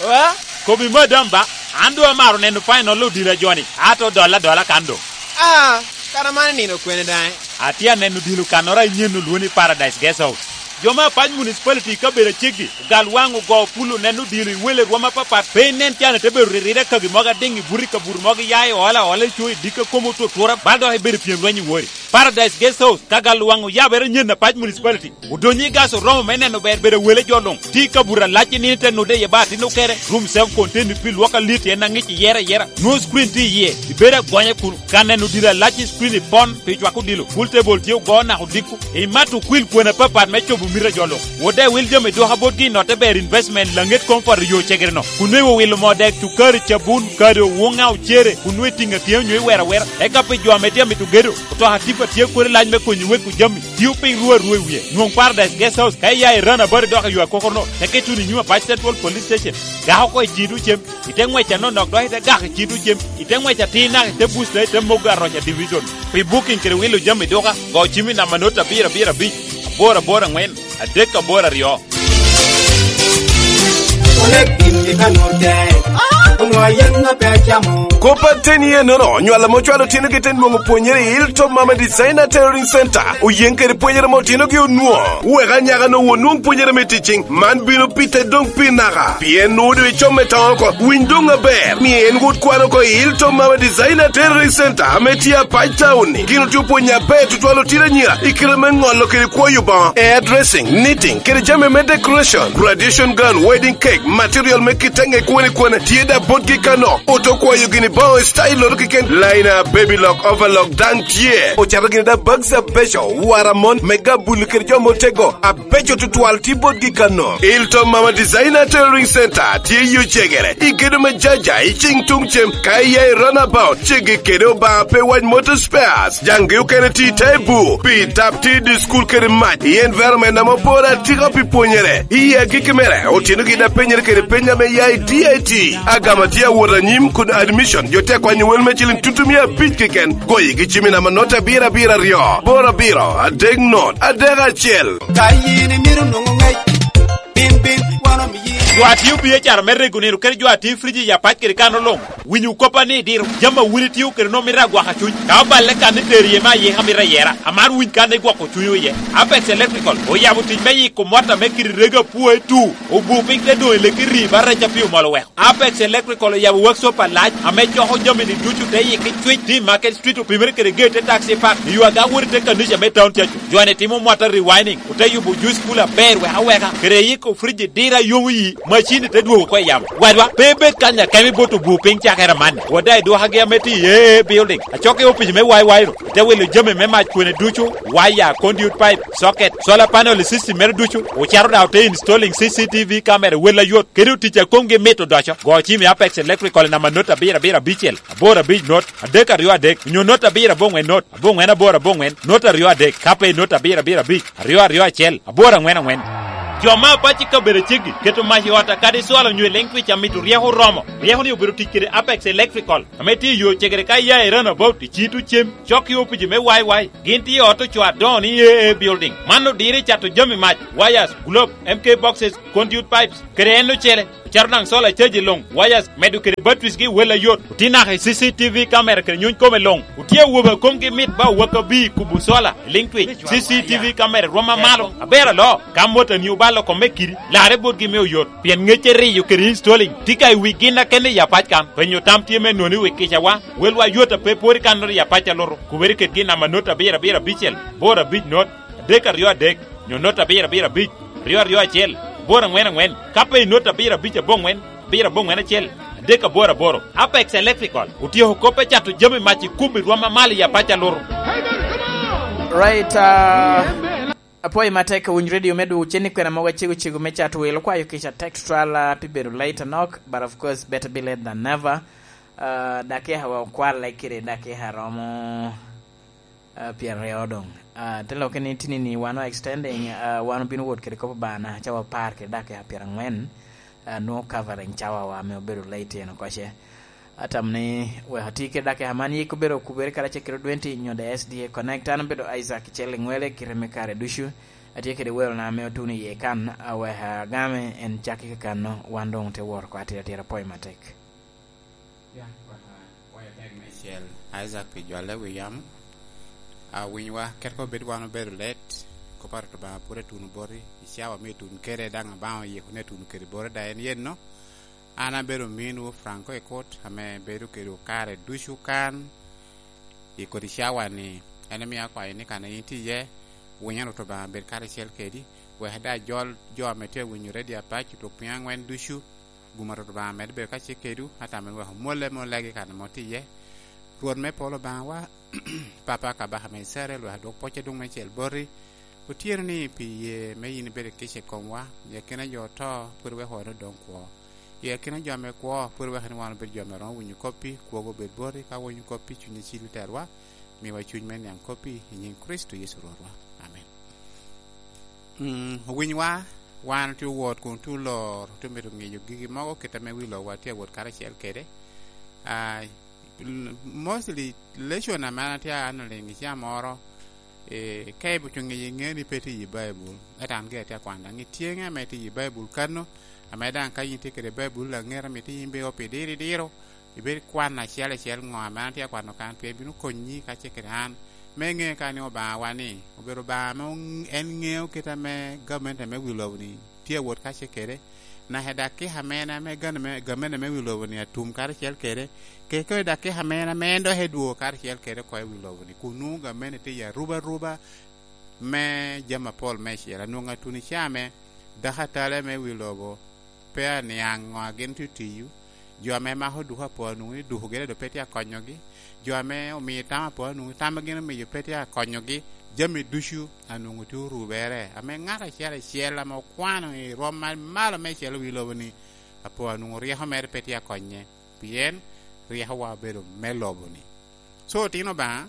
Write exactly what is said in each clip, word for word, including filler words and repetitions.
Wa? Kobi madam ba, an doŋ amaro neno final odilo a joni, ato dolla adola kan doŋ. Ah, kara man nino kwene daŋ? Atye aneno odilo kannoro a inyen olwongo ni Paradise Guest House. Jo me Apac Municipality i kabedo aceggi, ogal waŋ ogo pulo neno odilo i wele rwom apapat, pe inen can ite bedo ririre kagi mogo adiŋ i buto i kabuto mogo iya i ola ola i co i dikka komo otutura, bal dok ibedo i pyem lweny i wori. Paradise Guest House, ka gal waŋ oyabere nyen Apac Municipality. Odonyo i gas oromo me neno ber bedo wele jo luŋ. Tye i kabuto alac i nino te nude iye ba atin okere. Room serve container pi lwok alit en aŋic iyere ayera. Nwoŋo screen tye iye. Ibedo agonya kun ka neno diro alac i screen ipon pi cwako dilo. Pool table tye ogo naka odiko. Imato okwil kwena apapat me cobo mito a jo luŋ. Wode wil jami duka botgi i notte ber investment laŋet koŋ poto yo cegere no. Kun nwe wilo moo dek cukari cabun kado wuŋa ocere kun nwe tiŋa tye onyo iwero awera. Eka pi jo ame tye amito gedo. Otoka tipa tye kodi lac me konyo wek ojami. Tio piny ruu aruu i wie. Nwoŋ Paradise Guest House ka iya i Rana Body dok i yo akokorno. Teke tuno i nyim Apac Central Police Station. Gako oko i cito cem. Ite ngwec anonok dok ite gako i cito cem. Ite ngwec atir naka ite busta ite mogo aroca division. Pi booking kede wilo jami duka, go cim i namba not abiro abiro abic, aboro aboro angwen, adek aboro aryo. Kop ateni enono, nywal ame ocwalo otinogi te nwoŋo pwonyere i Hilltop Mama Designer Tailoring Center, oyeŋ kede pwonyere ame otinogi onwoŋo. Wek anyaka-nu onwoŋ pwonyere me ticing, man bino pite doŋ pi naka. Pien nwoŋo doŋ icom me toŋo oko, winy doŋ aber, ni en wot kwan oko i Hilltop Mama Designer Tailoring Center ame tye Apac Town-ni. Gin otye opwonyo aber tutwal otino anyira i kite me ŋolo kede kwoyo boŋo, hairdressing, knitting, kede jami me decoration, graduation gown, wedding cake, material me kite ŋe kwene kwene, tye da botgi kano. Oto kwayo gini boŋo i style-loto keken, liner, baby lock, overlock daŋ tye. Ocato gini da bags abeco, waramon, me gabuli kede jo motego, abeco tutwal tye botgi kano. Ilton Mama Designer Tailoring Center tye i Ocegere, i gedo me Jaja, i cing tuŋ cem, ka iya i runabout, ceggi kede Obaŋa pe wac Motor Spares. Jaŋgi okene tye i Taibu, pi tap tye i dye school kede mac, i environment ame opore atika pi pwonyere. I agikki mere, otino gin apenyere kede peny ame ya i D I T. Agama tye awot anyim kun admission, jo te kwanyo wel me ciling tutumia abic keken. Goyi gi cim i namba not abiro abiro aryo, aboro abiro, adek not, adek acel. Ka yin imito nwoŋo ŋec, bin, bin, wan omiyi. Jo atio biacara me rego nino kede jo atio friji ya pac kede kano luŋ. Winyo koppa ni diro, jami a wun itio kede nwoŋo mito agwaka cuny. Ka oballe kan ni tero iye me ayika mito ayera, amaro winy kan ni gwoko cunywu iye. Apex Electrical oyabo tic me yiko mot ame kite rego apwoe tu, obu piny te doŋ i leki ri ba rec a pi omol oweko. Apex Electrical oyabo workshop alac ame coko jami-ni ducu te yikki cwic tye i Market Street opimere kede geyi te taxi park i yo aga wot i te kanica me town cacu. Jo-ni timo mot a rewinding, ote yubo juice cooler aber wek aweka, kede yiko friji diro a yomo yi, macin-ni te dwogo oko i yamo. Wadwa, pe ibed kany akemo i bot obur piny cakere amanni. Wada i dwokagi ame tye i A A Building, acok i opic me Y Y ru, ite wilo jami me mac kwene ducu, waya, conduit pipe, socket, solar panel system mere ducu, ocito daŋ ote installing C C T V camera wel ayot, kede otic a komgi mit odoco. Go cim i Apex Electrical i namba not abiro abiro abicel, aboro abic not, adek aryo adek, onyo not abiro aboŋwen not, aboŋwen aboro aboŋwen, not aryo adek, ka pe i not abiro abiro abic, aryo aryo acel, aboro aŋwen aŋwen. Jo me apac i kabedo aceggi keto mac i ot akadi cwalo onyo i leŋ twic amito ryeko oromo. Ryeko-ni obedo tic kede Apex Electrical, ame tye i yo cegere ka iya i runabout i cito cem, cok i opici me Y Y. Gin tye i ot ocoo adoŋo ni A A Building. Man odiro i cato jami mac, wires, globe, M K boxes, conduit pipes, kede en ocele. Ocito daŋ solar charge luŋ, wires, medo kede batteries gi wel ayot. Otye naka i C C T V camera kede nyuny kome luŋ. Otye awobe a komgi mit ba owak abir kubo solar, liŋ twic, C C T V camera rwom amalo. Aber alo, ka motani obalo kome kidi, larre botgi me oyot. Pien ŋec eriyo kede installing tye ka i wi gin akene i apac kan. Penyo tam tye me noni wi kicawa, welwa yot a pe pwod i kan not i apac a lutu. Kubere kedgi namba not abiro abiro abicel, bor abic not, adek aryo adek, nyo not abiro abiro abic, aryo aryo acel, bor aŋwen aŋwen, ka pe i not abiro abic aboŋwen, abiro aboŋwen acel, adek aboro aboro. Apex Electrical otyeko kop me cato jami mac i kum i rwom amalo i apac a lutu. Right, uh, apwoyo matek ka winyo radio me dwogo cen i kwena mogo acego cego me cato wel, okwayo kica text twal, uh, pi bedo late anok, but of course better be late than never. Uh, dakika wa okwale kede dakika romo, uh, pyeraryo doŋ. Uh, te lokke ni tini ni wan o extending, uh, wan obino wot kede kop Obaŋa naka ca wapar kede dakika pyeraŋwen, uh, nwoŋo covering cawa wa ame obedo late eno koce. Atamo ni wek ati kede dakika man yik obedo okubere karacel kede odwenti nyo the S D A Connect. An obedo Isaac Icel Liŋwele kite me kare ducu. Atye kede welona ame otuno iye kan, awek agame en cakki kakano, wan doŋ te wot oko atira atira, pwoyo matek. Ya, wek, ah, pwoyo tek meicel, Isaac pi jwalle wi yam. Ah, winywa, ket ko bed wan obedo let, kop a Rwot Obaŋa pwod atuno boti, i cawa me tuno kede daŋ Obaŋa oyiko ni atuno kede boti da en yenno. An abedo ominwu Franco Ekot, ame bedo kedwu kare ducu kan i kodi cawa-ni. En omio akwayo ni kan a yin tye iye, winyo Rwot Obaŋa bed karacel kedi, wek daŋ ajol jo ame tye awinyo redio apac otuk piny aŋwen ducu, gum a Rwot Obaŋa med bedo kacel kedwu, atamo ni wek omwolle me olegi kan ame otye iye. Rwot me polo Obaŋawa, Papa Kabaka me Icrael, wek adwok pwoc adwoŋ meicel boti, otyeno ni pi ye me yin ibedo kica i komwa, i akina jo oto, pwod iweko wan odoŋ kwo. I akina jo ame kwo, pwod iweko ni wan obedo jo ame romo winyo koppi, kwogo obed boti, ka winyo koppi, cunyi cil i terwa, miwa cuny me niaŋ koppi, i nyiŋ Kricito Yecu Rwotwa. Amen. Mm, owinywa, wan otye owot kun otye olor, otye omito ŋeyo gigi mogo, kit ame wi lobo watye awot karacel kede. Ah, mostly, lesson ame an atye aneno liŋ i caa moro, eh, ka ibito ŋeyo, iŋeo ni pe tye i Baibul, ento an gire atye akwano daŋ i tyeŋe ame tye i Baibul kano, ame daŋ ka yin itye kede Baibul laŋet, amito yin bino pi diro i diro, ibed kwan acel acel ŋo ame an atye akwano kan, pien bino konyi kacel kede an me ŋeo ka ni Obaŋawa ni obedo Obaŋa ame ong-, en ŋeo kit ame gamente me wi lobo-ni tye awot kacel kede, naka i dakika ame en ame gamente me, gamente me wi lobo-ni atum karacel kede, kede kono i dakika ame en ame en dok edwogo karacel kede oko i wi lobo-ni, kun nwoŋo gamente tye i arubaruba me jami apol meicel. Anwoŋo atuno i caa me dako atale me wi lobo pe aniaŋ ŋo a gin tye otiyo, jo ame mako duko apo anwoŋo ni duko gire dok pe tye akonyogi, jo ame omio tam apo anwoŋo tam a gin omiyo pe tye akonyogi, jami ducu anwoŋo tye orubere, ame ŋat acel acel ame okwano i rwom ma malo meicel i wi lobo-ni, apo anwoŋo ryeko mere pe tye akonye, pien ryekowa obedo me lobo-ni. So, otino Obaŋa,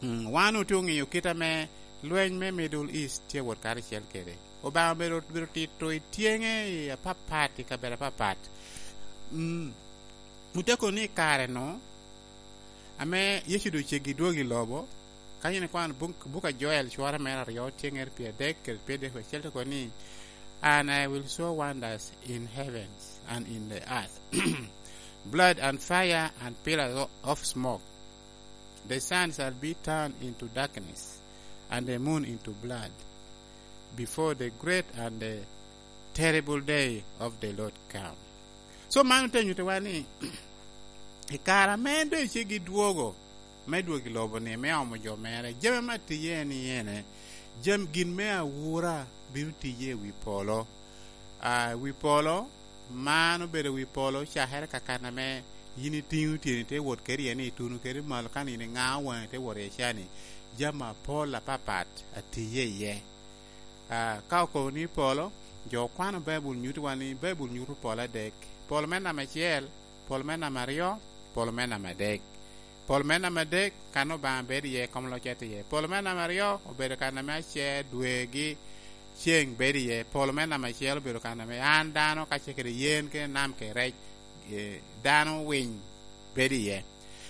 mm, wan otye oŋeyo kit ame lweny me Middle East tye wot karacel kede. Obaŋa obedo, obedo tito i tyeŋe i apapat, i kabedo apapat. Mm, oteko ni i kare-nu, ame Yecu doŋ ceggi dwogo i lobo, ka yin ikwano buk, buk a Joel, cware mere aryo, tyeŋere pyeradek kede pyeradek wiye acel, te kono ni, "And I will show wonders in heavens and in the earth, blood and fire and pillars o-, of smoke. The sun shall be turned into darkness and the moon into blood before the great and the terrible day of the Lord come." So, man te nyuttiwa ni, i kare ame en doŋ eceggi dwogo, me dwogo i lobo-ni, me omo jo mere, jami ame atye iye en ene, jam-, gin me awura bino tiye i wi polo. Ah, wi polo, man obedo wi polo, cakere ka kan ame yin itiŋo tyeni ite wot kede iye ni ituno kede malo, ka nino iŋao waŋi ite wot iye ca-ni, jami apol apapat atiye iye. Ah, ka okobo ni polo, jo okwano Baibul nyuto wan ni Baibul nyuto polo adek. Polo me namba acel, polo me namba aryo, polo me namba adek. Polo me namba adek, kan Obaŋa bedo iye, kom locce tye iye. Polo me namba aryo, obedo kan ame acer, dwe gi ceŋ bedo iye. Polo me namba acel obedo kan ame an dano, kacel kede yen, kede nam, kede rec, eh, dano, winy bedo iye.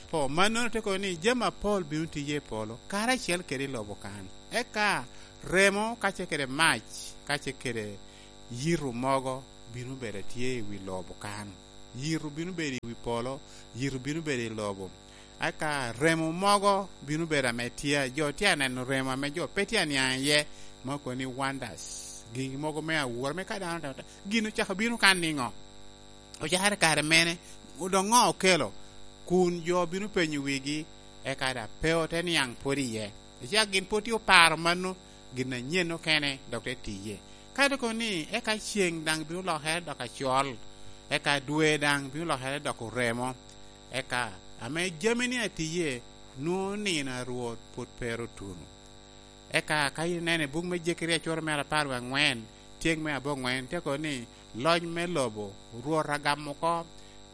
Po, mannono te kono ni jami apol bino tiye i polo, karacel kede i lobo kan. Eka remo, kacel kede mac, kacel kede yito mogo bino bedo atye i wi lobo kan. Yito bino bedo i wi polo, yito bino bedo i lobo. Eka remo mogo bino bedo ame tye, jo tye aneno remo ame jo pe tye aniaŋ iye, ma okobo ni wonders, gin mogo me awura, me ka dano otemo ta-, gin ocako bino kan niŋo? Ocakere kare mene? Dok ŋo okelo? Kun jo bino penyo wigi, eka daŋ pe ote niaŋ pwod iye. Icak gin pwod tye oparo mano, gin anyen okene dok te tiye. Ka dok ni, eka ceŋ daŋ bino lokere dok acol, eka dwe daŋ bino lokere dok oremo, eka ame jami-ni atiye, nwoŋo nino a Rwot pwod pe ru otuno. Eka ka ineno i buk me Jekeria cwero mere apar wie aŋwen, tyeng me aboŋwen, te kono ni, loc me lobo, Rwot agamo oko.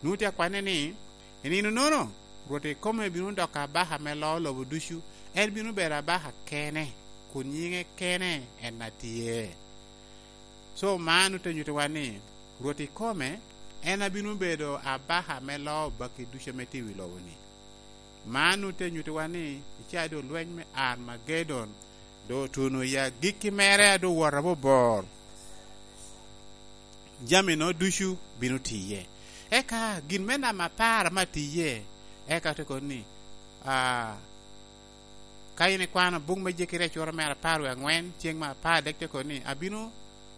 Nwoŋo tye akwanne ni, i nino-nono, Rwot ikome bino doko abaka me loo lobo ducu, en bino bedo abaka kene, kun nyiŋe kene en atye. So, man ote nyuttiwa ni, Rwot ikome, en abino bedo abaka me loo baki ducu ame tye i wi lobo-ni. Man ote nyuttiwa ni, i caa doŋ lweny me Armagedon, Doŋ otuno i agikki mere a doŋ wot abobor. Jami-nu ducu bino tiye. Eka gin me namba apar ame atiye, eka te kono ni, ah, ka in ikwano buk me Jekeria cura mere apar wie aŋwen, ceng me apar dek te kono ni, abino,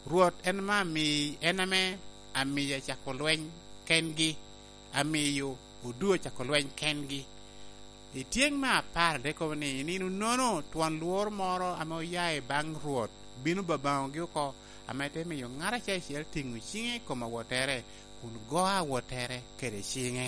Rwot en ame ami-, en ame amiyo acako lweny kengi, amiyo odu acako lweny kengi. I ceng me apar dek kobo ni, i nino nono twon lworo moro ame oya i baŋ Rwot bino babaŋogi oko, ame te miyo ŋat acel acel tiŋo ciŋe i kom awottere, kun go awottere kede ciŋe.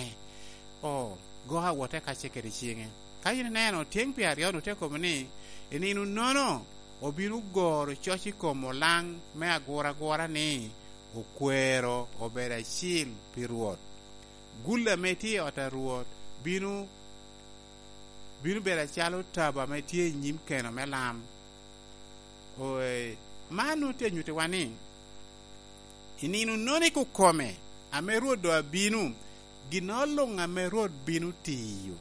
O, go awotte kacce kede ciŋe. Ka in ineno, ceng pi aryo-nu te kobo ni, i nino nono obino goro coc i kom olaŋ me aguragura ni, okwero obed acil pi Rwot. Gulli ame tye i ot a Rwot bino, bino bedo acalo tabo ame tye i nyim keno me lam. Oe, man nwoŋo tye anyuttiwa ni, i nino nono i kukome ame Rwot doŋ abino, ginnoro luŋ ame Rwot bino tiyo,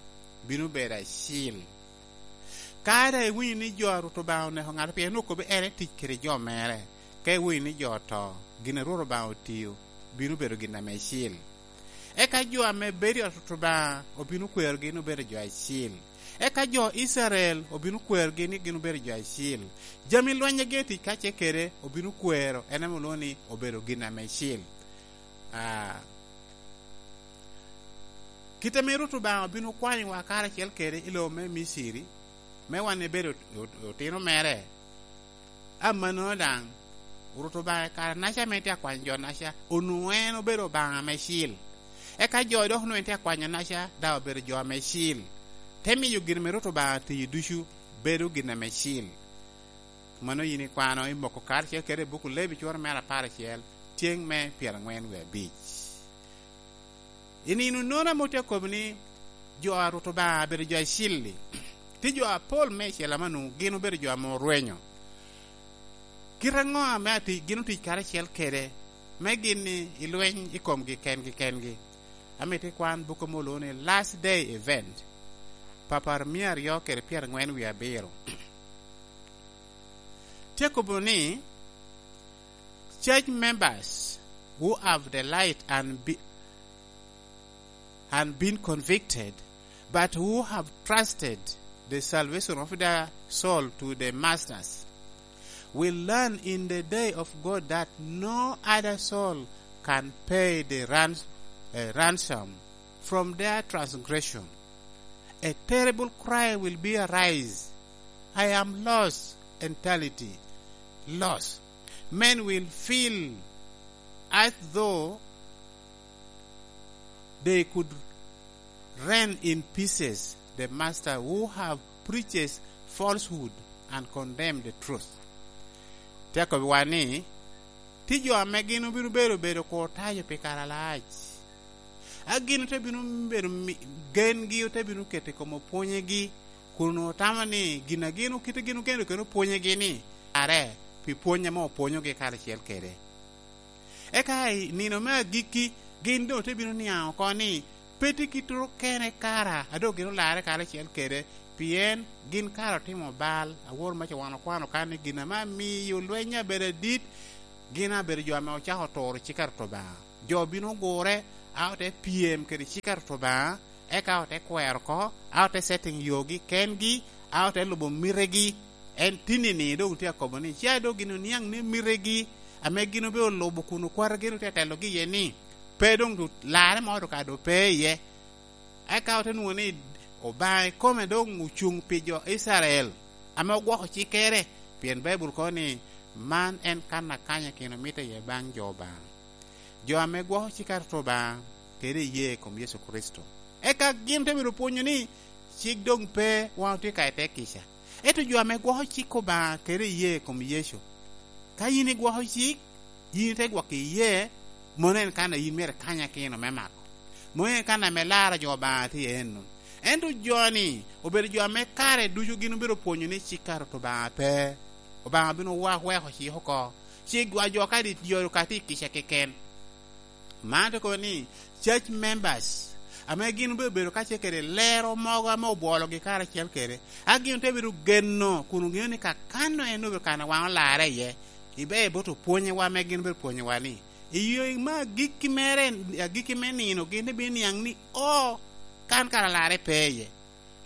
bino bedo acil. Ka daŋ iwinyo ni jo a Rwot Obaŋa oneko ŋato pien okobbe en etic kede jo mere, ka iwinyo ni jo oto, gin a Rwot Obaŋa otio bino bedo gin ame acil. Eka jo ame bedo i ot Rwot Obaŋa obino kwerogi ni obedo jo acil. Eka jo Icrael obino kwerogi ni gin obedo jo acil. Jami lweny agi etic kacce kede obino kwero, en ame olwoŋo ni obedo gin ame acil. Ah, kit ame Rwot Obaŋa obino kwanyowa karacel kede i lobo me Miciri, me wan ebedo ot-, ot-, otino mere. Amannono daŋ, Rwot Obaŋa i kare-naca ame tye akwanyo jo-naca, onwoŋo en obedo Obaŋa ame cil. Eka jo dok onwoŋo en tye akwanyo-naca, daŋ obedo jo ame cil. Te miyo gin ame Rwot Obaŋa tiyo ducu bedo gin ame cil. Mano yin ikwano i moko karacel kede i buk Levi cura mere apar acel, ceng me pyeraŋwen wie abic. I nino nono ame otye akobo ni jo a Rwot Obaŋa abedo jo acil-li, tye jo apol meicel ame onwoŋo gin obedo jo ame orwenyo. Kit aŋo ame ati-, gin otic karacel kede, me gin i lweny i komgi kengi kengi? Amito ikwan buk ame olwoŋo ni Last Day Event, papar mia aryo kede pyeraŋwen wie abiro. Tye akobo ni, church members who have the light and be, and been convicted, but who have trusted the salvation of their soul to the masters, will learn in the day of God that no other soul can pay the rans-, uh, ransom from their transgression. A terrible cry will be arise, "I am lost, entirely lost." Men will feel as though they could rend in pieces the master who have preached falsehood and condemned the truth. Te akobbiwa ni, tye jo ame gin obino bedo, bedo kur tayo pi kare alac. A gin ote bino bedo mi-, gengi ote bino keto i kom opwonyegi, kun otamo ni gin a gin okite gin ogeno kede opwonyegi ni, are pi pwony ame opwonyogi karacel kede. Eka i nino me agikki, gin doŋ te bino niaŋ oko ni, pe tye kittoro kene kara a doŋ gin olarre karacel kede, pien gin kara otimo bal, awor maca wan okwano kan ni gin ame amiyo lweny abedo adit, gin abedo jo ame ocako turo cik a Rwot Obaŋa. Jo bino gure, a ote pyem kede cik a Rwot Obaŋa, eka ote kwero oko, a ote setting yogi kengi, a ote lubo mitegi. En tinni-ni doŋ tye akobo ni, ca doŋ gin oniaŋ ni mitegi, ame gin obe olubo kun okwata gin otye atelogi iye ni, pe doŋ du-, larre mo doŋ ka doŋ pe iye. Eka ote nwoŋo ni Obaŋa ikome doŋ ocuŋ pi jo Icrael, ame ogwoko cikkere, pien Baibul kono ni, "Man en kan akanya kino mitte iye baŋ jo Obaŋa." Jo ame gwoko cik a Rwot Obaŋa kede iye i kom Yecu Kricito. Eka gin te bedo pwonyo ni cik doŋ pe, wan otye ka i te kica. Ento jo ame gwoko cik Obaŋa kede iye i kom Yecu, ka yin igwoko cik, yin ite gwoko iye, mano en kan a yin myero ikany akino me mako. Mano en kan ame laro jo Obaŋa tye enno. Ento jo-ni obedo jo ame kare ducu gin obedo pwonyo ni cik a Rwot Obaŋa pe. Obaŋa bino wa-, weko cik oko. Ci gwa jo ka dit jo ka tye i kica keken. Man te kobo ni church members ame gin obedo bedo kacel kede lero mogo ame obwologi karacel kede, a gin te bedo geno kun oŋeo ni kakano en obedo kan a wan olarre iye, ibe bot opwonyewa ame gin obedo pwonyowa ni, i yo me agikki mere, agikki me nino gin te bino niaŋ ni, "O, kan kara larre pe iye."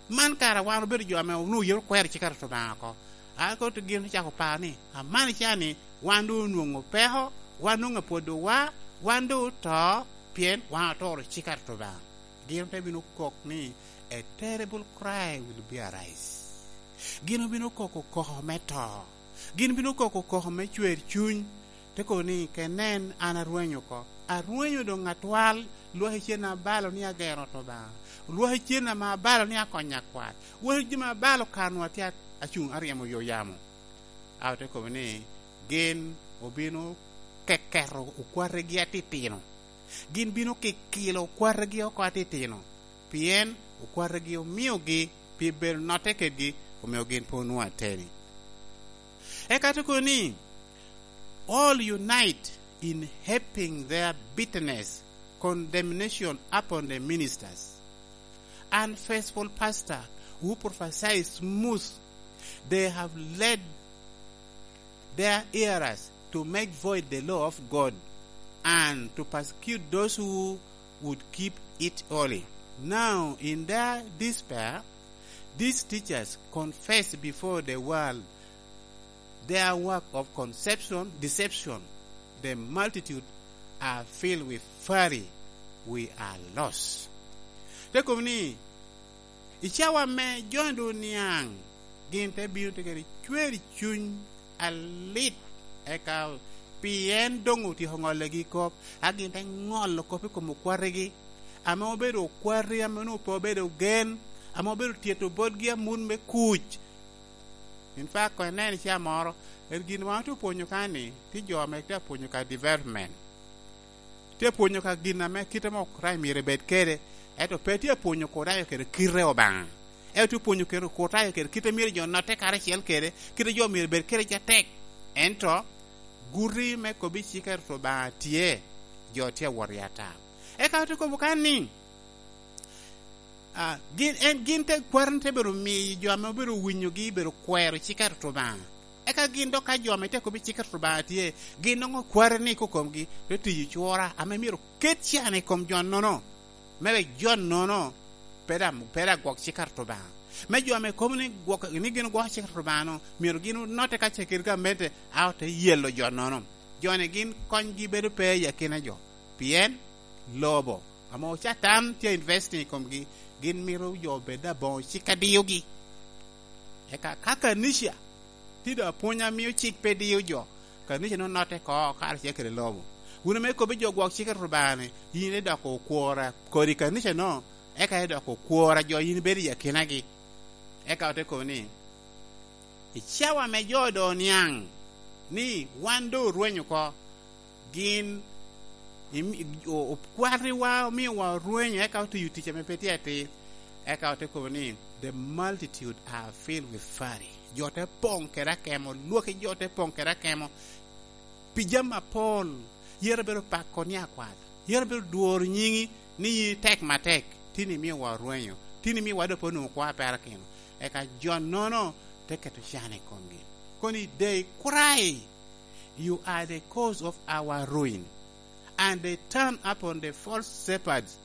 Man kara wan obedo jo ame onwoŋo yero kwero cik a Rwot Obaŋa oko. A koto gin ocako paro ni, "Amani ca ni, wan doŋ onwoŋo peko, wan doŋ apwodowa, wan doŋ oto, pien wan oturo cik a Rwot Obaŋa." Gin te bino kok ni, "A terrible cry will be arise." Gin obino koko koko me to. Gin bino koko koko me cwer cuny. Te kobo ni, "Ke nen, an arwenyo oko. Arwenyo doŋ atwal, lwaki cen abalo ni agero Rwot Obaŋa. Lwaki cen ame abalo ni akonyo akwat. Wek jami abalo kanwa tye acuŋ aryemo yo yamo." A ote kobo ni, "Gin obino keketo okwategi atitino. Gin bino kikilo okwategi oko atitino, pien okwategi omiogi pi bedo notte kedgi, omio gin pe onwoŋo ateni." Eka te kobo ni, "All unite in heaping their bitterness, condemnation upon the ministers. Unfaithful pastor who prophesy smooth, they have led their hearers to make void the law of God and to persecute those who would keep it holy. Now, in their despair, these teachers confess before the world their work of conception, deception. The multitude are filled with fury. We are lost." Te kobo ni, "I cawa ame jo-ni doŋ oniaŋ, gin te bino te kede cwer i cuny alit, eka pien doŋ otyeko ŋollogi kop, a gin te ŋolo kop i kom okwategi, ame obedo okwati ame onwoŋo pe obedo gen, ame obedo tyeto botgi amut me kuc." In fact, koŋ inen i caa moro, en gin wan otye opwonyo ka ni, tye jo ame tye apwonyo ka development. Tye apwonyo ka gin ame kite ame Okristo myero ebed kede, ento pe tye apwonyo Okristo kede kite Obaŋa. Ento tye apwonyo kede Okristo kede kite myero jo notte karacel kede, kite jo myero ebed kede ca tek. Ento guti me kobbi cik a Rwot Obaŋa tye, jo tye awot i atal. Eka ote kobo kan ni, a, gin, en, gin te, kwaro-ni te bedo miyo jo ame obedo winyogi bedo kwero cik a Rwot Obaŋa. Eka gin dok ka jo ame te kobbi cik a Rwot Obaŋa tye, gin nwoŋo kwaro-ni kokomgi te tiyo cura ame myero ket can i kom jo-nono, me wek jo-nono pe da-, pe da gwok cik a Rwot Obaŋa. Me jo ame kobo ni gwok, ni gin ogwoko cik a Rwot Obaŋa-nu, myero gin onotte ka ce kede gamente, a ote yelo jo-nono. Jo-ni gin konygi bedo pe i akina jo. Pien lobo ame Catan tye investing i komgi, gin mito jo obed aboŋo cik a diyogi. Eka ka kanica tye doŋ apwony a mio cik pe diyo jo, kanica-nu notte oko karacel kede lobo. Wun ame ikobbi jo gwok cik a Rwot Obaŋa-ni, yin idoko okwora kodi kanica-no, eka idoko okwora jo yin ibedo i akinagi. Eka ote kobo ni, "I cawa ame jo doŋ oniaŋ ni wan doŋ orweny oko, gin imi-, o-, okwatiwa omiowa orwenyo, eka otiyo tic ame pe tye atir." Eka ote kobo ni, "The multitude are filled with fury." Jo te poŋ kede akemo, lwaki jo te poŋ kede akemo pi jami apol. Yero bedo pako ni akwat, yero bedo dworo nyiŋi ni yin itek matek, tin imiowa orwenyo, tin imiowa doŋ pe onwoŋo kwo a perakino. Eka jo-nono te keto can i komgi, kono ni, "They cry, 'You are the cause of our ruin.' And they turn upon the false shepherds